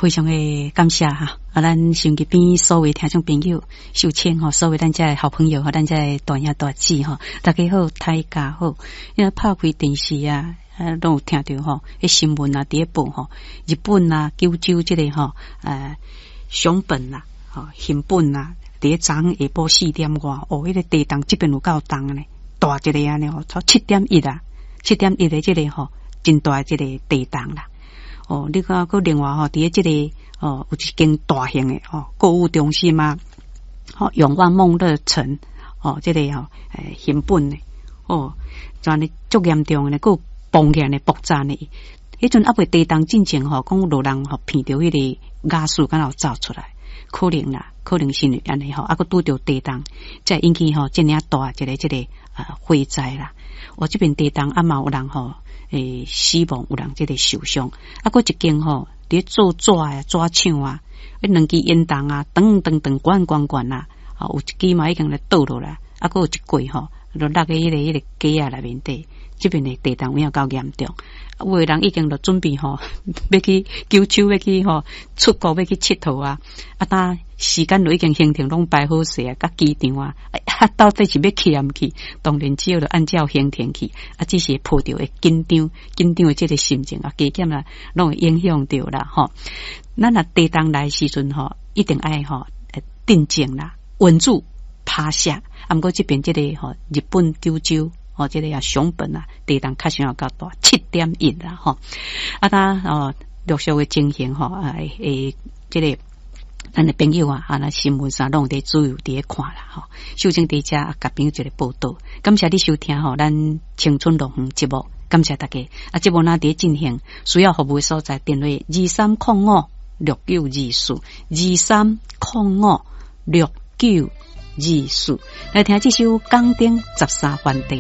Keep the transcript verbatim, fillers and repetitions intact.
非常的感謝哈！啊，咱收音機邊所有聽眾朋友、秀清吼，所有咱遮的好朋友吼，咱遮的大兄大姊吼，大家好，大家好。因為拍開電視啊，啊，攏有聽著吼，彼新聞啊，佇咧報吼，日本啊，九州這個吼，呃，熊本啊，吼，熊本啊，佇咧昨昏下晡四點外，哦，彼個地動這邊有夠重呢，大一个按呢吼，超七點一啊，七點一的這個吼，真大這個地動啦。哦，你看，閣另外吼，佇咧這個哦，有一間大型的吼購物中心啊，吼永旺夢樂城哦，這個吼欸熊本的哦，就按呢足嚴重的，閣有崩起來呢，爆炸呢。彼陣猶未地動進前吼，講有人吼鼻著彼個瓦斯敢若有走出來，可能啦，可能是按呢吼，啊閣拄著地動，才會引起吼遮爾啊大一個這個啊火災啦。我這邊地動啊嘛有人吼。欸，死亡有人這個受傷，啊，閣一間吼，佇咧做紙啊，紙廠啊，彼兩支煙囱啊，長長長懸懸懸啊，啊，有一支嘛已經咧倒落來，啊，閣有一塊吼，就落佇彼個彼個街仔內面底，這邊的地動有影夠嚴重，有的人已經就準備吼，欲去九州，欲去吼出國，欲去𨑨迌啊，啊，當時間都已經行程攏排好勢啊，佮機場啊，啊，到底是欲去抑毋去？當然只好就按照行程去，啊，只是抱著會緊張、緊張的這個心情啊，加減啦，攏會影響著啦，吼。咱若地動來時陣吼，一定愛吼鎮靜啦，穩住，趴下。啊，毋過這邊這個吼，日本九州吼，這個啊熊本啊，地動確實有夠大，七點一啦，吼。啊，當哦陸續的情形吼，啊，會這個。咱的朋友啊，啊，咱新聞上攏有佇主要佇咧看啦，吼。秀清佇遮共朋友一個報道，感謝你收聽吼，咱青春樂園節目，感謝大家。啊，節目若佇咧進行，需要服務的所在，電話二三空五六九二四，二三空五六九二四，來聽這首《港燈十三番地》。